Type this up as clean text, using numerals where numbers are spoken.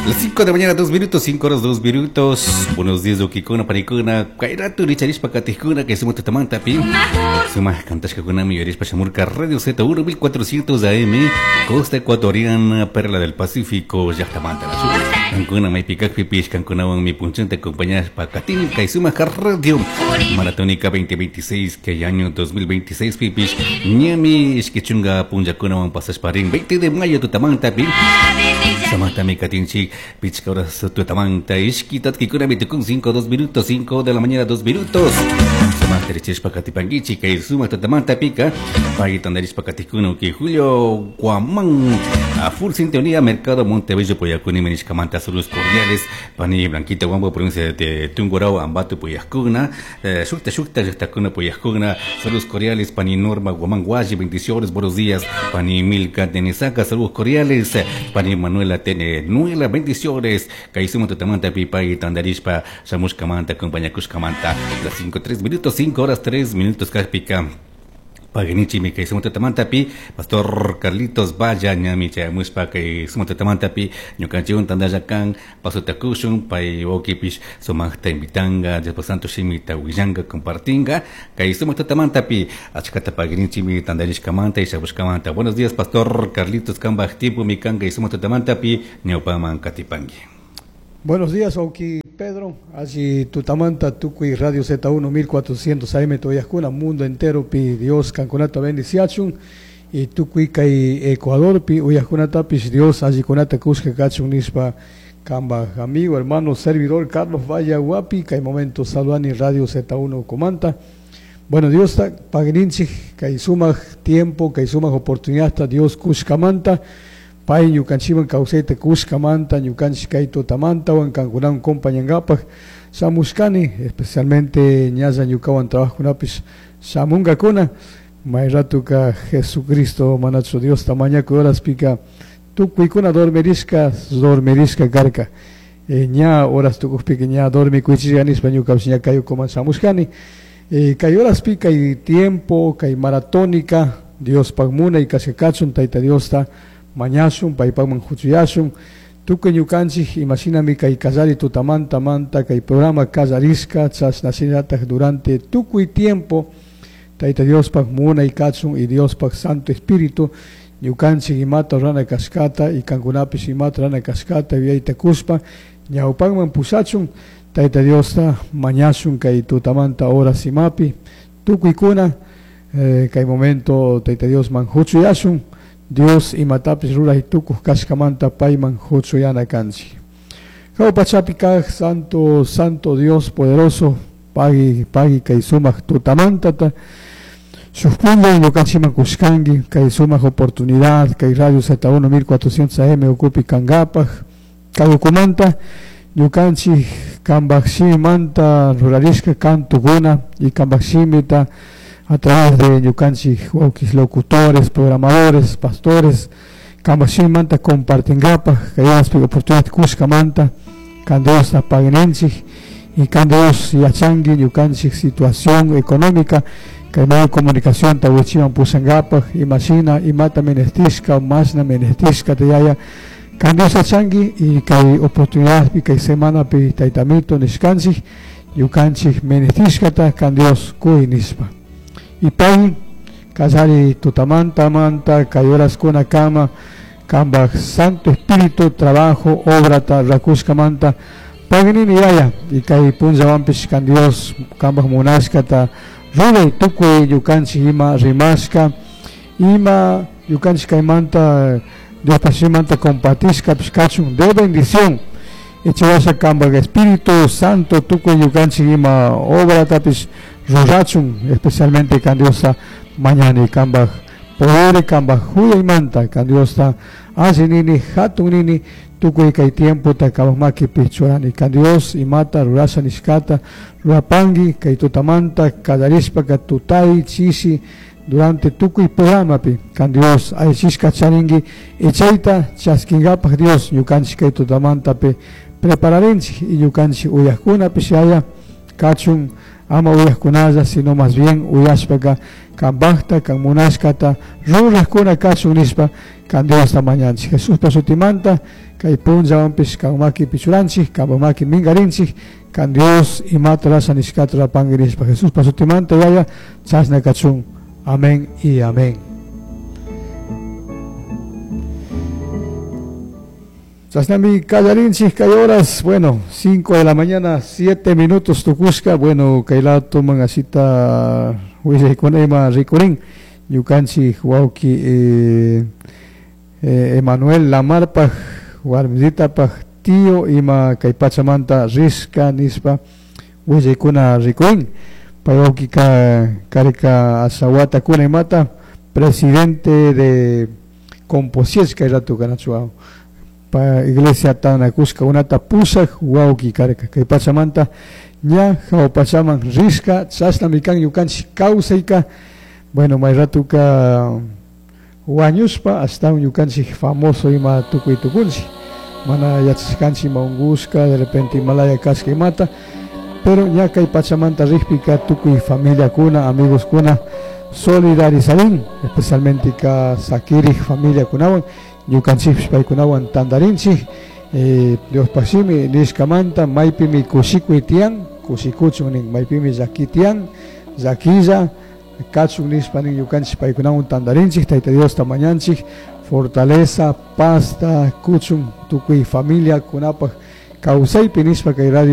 Las 5 de la mañana, 2 minutos, 5 horas, 2 minutos. Buenos días, ukikuna, panikuna. Kayratu, richarishpa, katijkuna, que somos tutamanta, pi. Sumaj kantashkakunami yuyarishpa shamurka Radio Z1 1400 AM, Costa Ecuatoriana, Perla del Pacífico, llaktamanta. Kankuna maypi kakpipish, kankunawanmi punchanta acompañashpa katini kay sumak radio Maratónica 2026, kay año 2026 pipish, ñami ishki chunga punllakunawan pasashpa rin 20 de mayo tutamanta pi. Samantami katinchik, pichka horas tutamanta, ishki tatkikunami tukun 5, 2 minutos, 5 de la mañana, 2 minutos. Sumajta richishpa katipankichik, kay sumak tutamanta pika, pay tandarishpa katikuna uki Julio Guamán, a full sintonía, Mercado Montebello, Poyacuni, Menishkamanta, saludos cordiales, pani Blanquita Guambo, provincia de Tungurahua, Ambato, Poyascuna, Shukta Shukta, Yachtakuna, Poyascuna, saludos cordiales, pani Norma Guamán Guayi, bendiciones, buenos días, pani Milka Tenesaca, saludos cordiales, pani Manuela Tene Nuela, bendiciones, kay sumak tutamanta pipay tandarishpa, shamushkamanta, acompañakushkamanta, las 5, 3 minutos, 5 horas 3 minutos, kakpika. Paginichimi kay sumak tutamanta pi Pastor Carlitos Valla ñami chayamushpa kay sumak tutamanta pi ñukanchikwan tantalla kan pasota kushun pay wawkipish sumaqta invitanga Diospak Santo shimita willanka compartinga kay sumak tutamanta pi achkata paginichimi tantarishkamanta y shamushkamanta. Buenos días, Pastor Carlitos, kambaj tiempo mi kan kay sumak tutamanta pi ñawpaman katipanki. Buenos días, Auki Pedro. Allí tutamanta tukuy Radio Z1 1400 AM Toyascuna, mundo entero pi Dios kankunata bendiciachun y tukuy kay Ecuador pi uyajkunatapish Dios allikunata kushka kachun nishpa kamba amigo, hermano, servidor Carlos Valle Guapi, kay momento saludani Radio Z1 comanta. Bueno, Dios ta pagninchik kay sumaq tiempo, kay sumaq oportunidad Dios kushkamanta. Pay ñukanchikman kawsayta kushkamanta, ñukanchik kay tutamantawan kankunawan compañangapaj shamushkani, especialmente ñalla ñukawan trabajokunapish shamunkakuna, may ratuka Jesucristo manachu Diosta mañakuy horaspika tukuykuna dormirishka, dormirishka karka. Ña horas tukukpika ña dormikuychishka nishpa ñukapish ña kay ukuman shamushkani. Kay horaspi kay tiempo, kay maratónica, Diospaj munay kashka kachun, Tayta Diosta mañashun, paypakman huchuyashun, tukuy ñukanchik imashinami kay kallari tutamanta manta kay programa kallarishka chashnashinataj durante tukuy tiempo Tayta Diospaj munay kachun y Diospaj Santo Espíritu ñukanchik imata rurana kashkata y kankunapish imata rurana kashkata yuyayta kushpa ñawpakman pushachun Tayta Diosta mañashun kay tutamanta horas imapi tukuykuna kay momento Tayta Diosman huchuyashun Dios imatapish ruray tukuj kashkamanta payman huchuyana kanchik. Jawpachapi kaj Santo, Santo Dios poderoso, pagui, pagui kay sumaq tutamantata, shuk punlla ñukanchikman kushkanki kay sumaq oportunidad kay Radio Z1 1400 AM ukupi kankapaj kay ukumanta ñukanchik kambaj shimimanta rurarishka kantukuna y kambaj shimita a través de ñukanchik wawkis locutores, programadores, pastores, kambaj shimimanta compartinkapaj kay horaspi oportunidad kushkamanta kan Diosta paguinenchik y kan Dios yachanki ñukanchik situación económica kay medio de comunicación ta wichiman pushankapaj imashina imata menestishka mashna menestishka tayaya kan Dios yachanki y kay oportunidadpi kay semanapi taytamito nishkanchik ñukanchik menestishkata kan Dios kuy nishpa. Y pay kallari tutamanta manta kay horaskuna kama kambaj Santo Espíritu trabajo obrata rakushkamanta paginini yaya y kay punllawanpish kan Dios kambaj munashkata ruray tukuy ñukanchik ima rimashka ima ñukanchik kaymanta Diospaj shimimanta compartishkapish kachun de bendición ichawasha kambaj Espíritu Santo tukuy ñukanchik ima obratapish rurachun especialmente kan Diosta mañani kambaj poder kambaj huyaymanta kan Diosta alli nini hatun nini tukuy kay tiempota kambaj makipi churani kan Dios imata rurasha nishkata rurapanki kay tutamanta kallarishpaka tutay chishi durante tukuy programapi kan Dios allichishka charinki y chayta chaskinkapaj Dios ñukanchik kay tutamantapi prepararinchik y ñukanchik uyajkunapish yaya kachun Ama uyajkunalla, sino más bien uyashpaka kanpajta, kan munashkata rurajkuna kachun nishpa kan Diosta mañanchik. Jesuspa shutimanta kay punllawanpish kan makipi churanchik, kanpa maki minkarinchik, kan Dios imata rasha nishkata rurapangui nishpa Jesuspa shutimanta yaya chashna kachun. Amén y amén. Chashnami kallarinchik kay horas, bueno, 5 de la mañana, 7 minutos tukushka, bueno, kay lado asita willaykuna ima rikurin, ñukanchik wawki Emanuel Lamarpaj, warmisitapaj tío ima kay pachamanta rishka nishpa willaykuna rikurin, pay wawkika karka ashawatakuna imata, presidente de Composies kay rato kanachu pa iglesia tanakushka unata pushak wawki karka kay pachamanta ña hawa pachaman rishka chashnami kan ñukanchik kawsayka, bueno, may ratuka wañushpa ashtawan ñukanchik famoso ima tukuy tukunchik, mana yachashkanchik ima unkushka de repente imalaya kashka imata, pero ña kay pachamanta rikpika tukuy familiakuna amigos-kuna solidarizarin, especialmente ka sakirik familiakunawan ñukanchikpish paykunawan tantarinchik, Diospaj shimi nishkamanta maypimi kushikuy tiyan kushikuchun nin, maypimi llaki tiyan llakilla kachun nishpa nin ñukanchik paykunawan tantarinchik, Tayta Diosta mañanchik fortaleza, pazta kuchun tukuy familiakunapaj kawsaypi nishpa kay radio